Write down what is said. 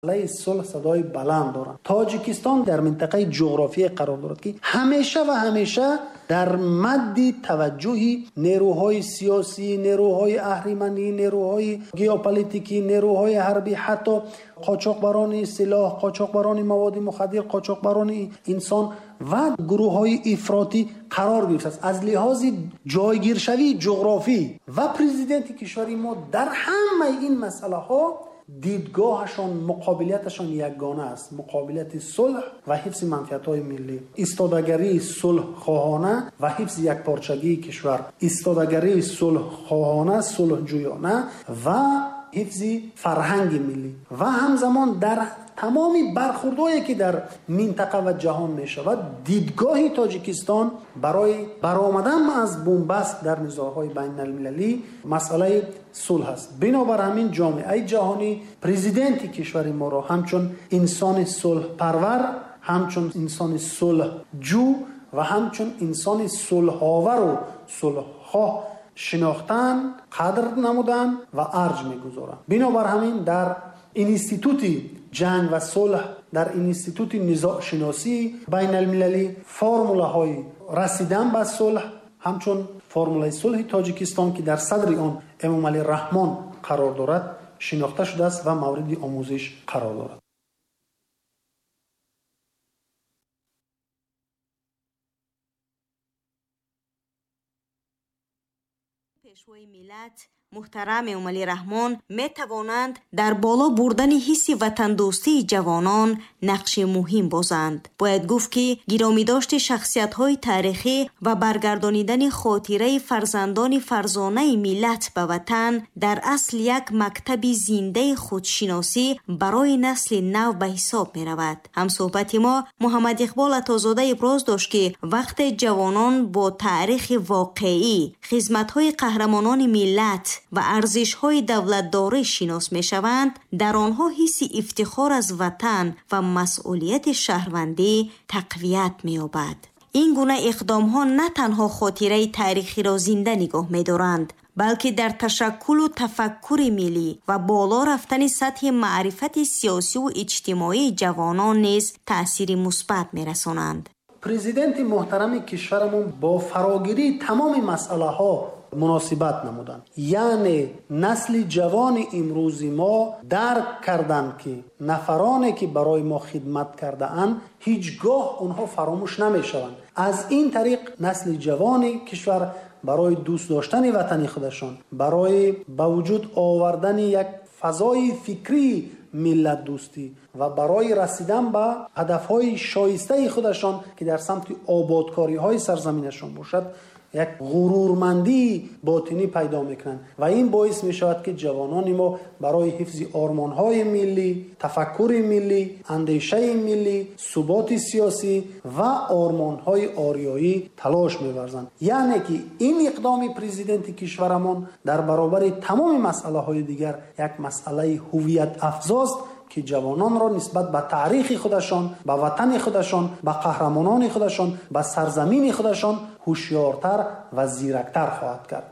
Сулҳ садои баланд доранд. Тоҷикистон дар минтақаи ҷуғрофие қарор дорад, ки ҳамеша ва ҳамеша дар мадди таваҷҷӯҳи нерӯҳои сиёсӣ, нерӯҳои аҳриманӣ, нерӯҳои геополитикӣ, нерӯҳои ҳарбӣ, ҳатто қочоқбарони силоҳ, қочоқбарони маводи мухаддир, қочоқбарони инсон ва гурӯҳҳои ифротӣ қарор гирифтааст. Аз лиҳози ҷойгиршавии ҷуғрофӣ ва президенти кишвари мо дар ҳамаи ин масъалаҳо дидгоҳашон, муқобилияташон ягона аст. Муқобилияти сулҳ ва ҳифзи манфиатҳои миллӣ, истодагарии сулҳхоҳона ва ҳифзи якпорчагии кишвар, истодагарии сулҳхоҳона, сулҳҷӯёна ва ҳифзи фарҳанги миллӣ ва ҳамзамон дар тамоми бархурдҳое ки дар минтақа ва ҷаҳон мешавад, дидгоҳи Тоҷикистон барои баромадан аз бунбаст дар низоъҳои байналмилалӣ масъалаи сулҳ аст. Бинобар ҳамин ҷомеаи ҷаҳонӣ президенти кишвари моро ҳамчун инсони сулҳпарвар, ҳамчун инсони сулҳҷӯ ва ҳамчун инсони сулҳовару сулҳхоҳ шинохтан, қадр намудан ва арҷ мегузоранд. Бинобар ҳамин дар институти ҷанг ва сулҳ, дар институти низоъшиносии байналмилалӣ формулаҳои расидан ба сулҳ ҳамчун формулаи сулҳи Тоҷикистон, ки дар садри он Эмомалӣ Раҳмон қарор дорад, шинохта шудааст ва мавриди омӯзиш қарор дорад. Пешвои миллат муҳтарам Эмомалӣ Раҳмон метавонанд дар боло бурдани ҳисси ватандӯстии ҷавонон нақши муҳим бозанд. Бояд гуфт, ки гиромидошти шахсиятҳои таърихӣ ва баргардонидани хотираи фарзандони фарзонаи миллат ба ватан дар асл як мактаби зиндаи худшиносӣ барои насли нав ба ҳисоб меравад. Ҳамсӯҳбати мо Муҳаммад Иқбол Атозода иброз дошт, ки вақте ҷавонон бо таърихи воқеӣ, хизматҳои қаҳрамонони миллат ва арзишҳои давлатдорӣ шинос мешаванд, дар онҳо ҳисси ифтихор аз ватан ва масъулияти шаҳрвандӣ тақвият меёбад. Ин гуна иқдомҳо на танҳо хотираи таърихиро зинда нигоҳ медоранд, балки дар ташаккулу тафаккури миллӣ ва боло рафтани сатҳи маърифати сиёсиву иҷтимоии ҷавонон низ таъсири мусбат мерасонанд. Президенти муҳтарами кишварамон бо фарогирии тамоми масъалаҳо муносибат намуданд. Яъне насли ҷавони имрӯзи мо дарк карданд, ки нафароне ки барои мо хидмат кардаанд, ҳеҷ гоҳ онҳо фаромӯш намешаванд. Аз ин тариқ насли ҷавони кишвар барои дӯст доштани ватани худашон, барои ба вуҷуд овардани як фазои фикрии миллатдӯстӣ ва барои расидан ба ҳадафҳои шоистаи худашон, ки дар самти ободкориҳои сарзаминашон бошад, як ғурурмандии ботинӣ пайдо мекунанд ва ин боис мешавад, ки ҷавонони мо барои ҳифзи ормонҳои миллӣ, тафаккури миллӣ, андешаи миллӣ, суботи сиёсӣ ва ормонҳои ориёӣ талош меварзанд. Яъне ки ин иқдоми президенти кишварамон дар баробари тамоми масъалаҳои дигар як масъалаи ҳувиятафзост, ки ҷавононро нисбат ба таърихи худашон, ба ватани худашон, ба қаҳрамонони худашон, ба сарзамини худашон ҳушёртар ва зирактар хоҳад кард.